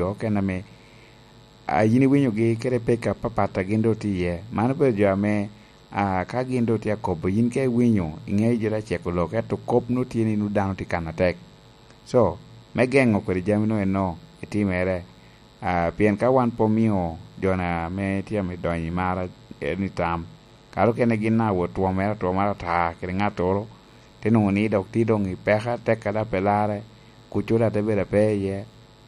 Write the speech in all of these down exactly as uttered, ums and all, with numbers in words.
jo okene ame, a, yin iwinyogi kede peko apapat a gin doŋ tye iye. Man obedo jo ame, a, ka gin doŋ tye akobo, yin ka iwinyo, iŋeo jo doŋ aceko lok, ento kop nwoŋo tye ni nwoŋo dano tye kan atek. So, me geŋo kodi jami nwoŋo eno etimere, a, pien ka wan pe omio jo-na ame tye ame donyo i mar, e, ni tam, kare okene gin a wot twomere atwoma ata kede ŋattoro, te nwoŋo ni dok tye doŋ i peko atek a daŋ pe larre, kuc-cu daŋ te bedo ape iye,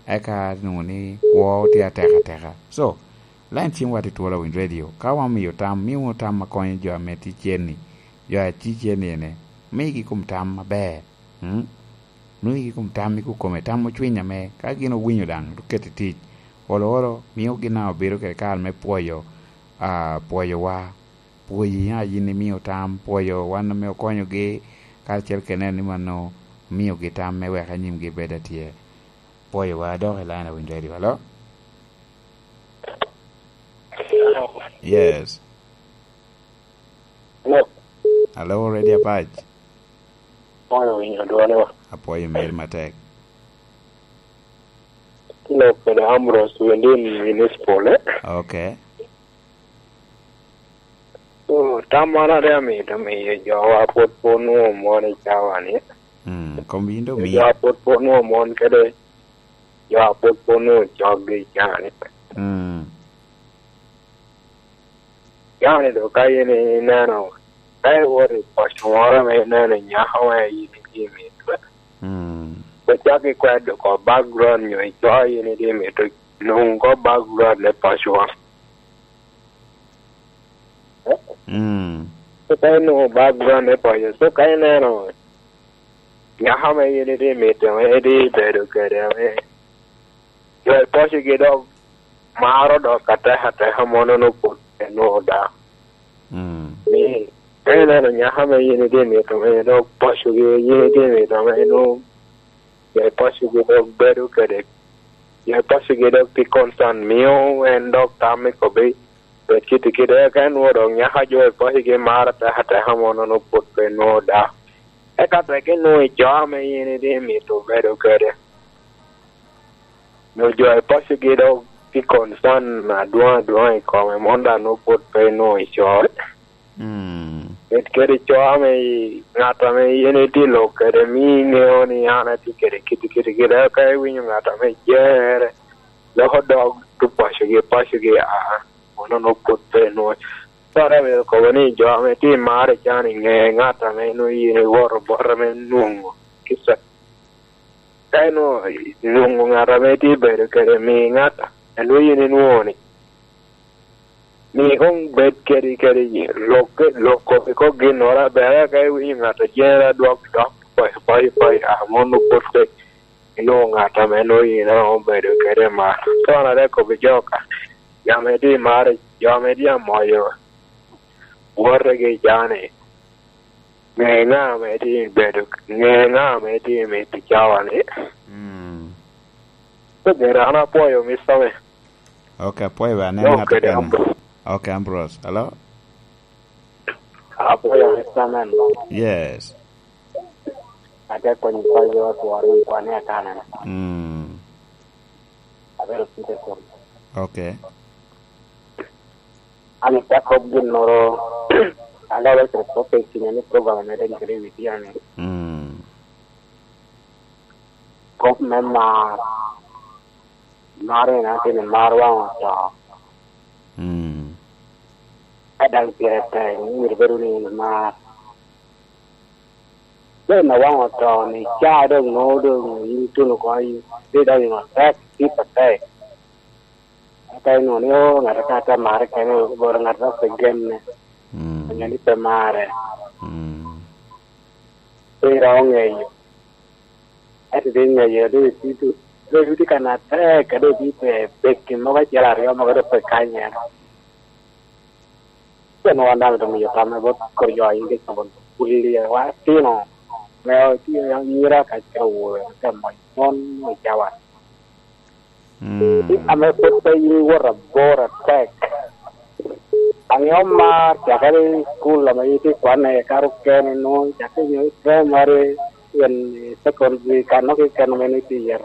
eka nwoŋo ni kwo tye atek ateka. So, lain cimwa tye twolo awiny redio. Ka wan omio tam, mio wunu tam a konyo jo ame tye cen-ni, jo a tye cen-ni ene, migi kom tam aber. Mm? Migi kom tam i kome, tam ocwiny ame ka gin owinyo daŋ, dok keto i tic. Olo olo, mio gin daŋ obedo kede kare me pwoyo, a, pwoyowa. Pwoyi, a, yin imio tam, pwoyo wan ame okonyogi, karacel kede neno ni mano omiogi tam me wek anyimgi bed atye. Pwoyowa dok i line awiny ready, alo? Yes. Hello. Alo, ready apac. Apwoyo winyo dwone wa. Apwoyo meri matek. Lok kede Ambrose Wendin Municipal, eh? Okay. So, tam man ate amito miyo jowa pwod pe onwoŋo mon i cawa-ni. Mm, kom yin doŋ mi. Jowa pwod pe onwoŋo mon kede jowa pwod pe onwoŋo coggi i cawa-ni. Mm. Cawa-ni doŋ ka in ineno, ka iwoto i paco moro ame ineno nyako ma in itye i mito, mm, ocak ikwed oko background nyo ico in itye i mito nwoŋo oko background me pacowa. Mm. So ka inwoŋo background me paco, so ka ineno nyako ame in itye i mito, ame itye i bedo kede, ame jo i pacigi dok maro dok atek ateka, mono nwoŋo pwod pe nwoŋo daŋ. Mm. Ni, ka ineno nyako ame in itye i mito, ame dok pacogi in itye i mito, ame nwoŋo jo i pacigi dok bedo kede, jo i pacigi dok tye concern, mio en dok tam i kobbi, bed kiti kite, eka en nwoŋo dok nyako a jo i pacigi maro atek ateka, mono nwoŋo pwod pe nwoŋo daŋ. Eka tek inwoŋo i co ame in itye i mito bedo kede, nyo jo i pacigi dok tye concern adwoŋ adwoŋ i kome, mono daŋ nwoŋo pwod pe inwoŋo i co. Mm. Bed kede co ame i, ŋat ame in itye lok kede, mi iŋeo ni an atye kede kiti kiti kiti, eka iwinyo ŋat ame jere, loko dog tu pacigi, pacigi, aa, mono nwoŋo pwod pe inwoŋo. Cware myero kobo ni jo ame tye i mar i can i ŋe ŋat ame nwoŋo in iwoto bot ame nwoŋo kica. Ka inwoŋo nwoŋo ŋat ame itye bedo kede, mi ŋat a nwoŋo in inwoŋo-ni, mi koŋ bed kede, kede lok, lok kop i kop ginnoro aber, eka iwinyo ŋat a jere adwok dok, poi, poi, poi, a, mono pwod pe inwoŋo ŋat ame nwoŋo in iromo bedo kede mar. Kono ate kobbi jo ka, jo ame tye i mar, jo ame tye amoyo wotegi i caa-ni, ŋe ŋa ame tye i bedo, ŋe ŋa ame tye i mito cawa-ni. Mm. Pe ber, an apwoyo, Mister Man. Ok, apwoyo, wan en ŋat okene. Ambrose. Ok, Ambrose. Hello? Apwoyo, Mister Man. Yes. Ate konyo paco tworo i kwane akana. Mm. Abedo Peterson. Ok. An ite kop ginnoro, an daŋ abedo kede kop i kinya ni program ame daŋ kede i wi tyen-ni. Mm. Kop me mar, mar en atye ni mar waŋ oto. Mm. Ka daŋ pire tek, myero bedo ni in imar. Pen a waŋ oto ni, ca doŋ nwoŋo doŋ in ituno oko, in idonyo i ŋot tek, tye patek. Eka inwoŋo ni, "Oo, ŋat ka te marre kene, boro ŋat dok pe genne." Mm. Onyo ni pe marre. Mm. Pe iromo ŋeyo. Ento doŋ iŋeyo, doŋ itye, doŋ itye ka nat tek, ka doŋ itye pe peki mogo acel aryo mogo doŋ pe kanyere. Pien wan daŋ doŋ miyo tam bot kor jo a yin kec kobo pulli wa tino, me otio anyira kacel awobe, ote moc mon i cawa. Mm. Ame pwod pe in iwoto abor atek. Angeo mar cakere i cukul ame itye kwane, kare okene nwoŋo cakere nyo i primary, pien i secondary, kan noko keken ame nwoŋo itye iye.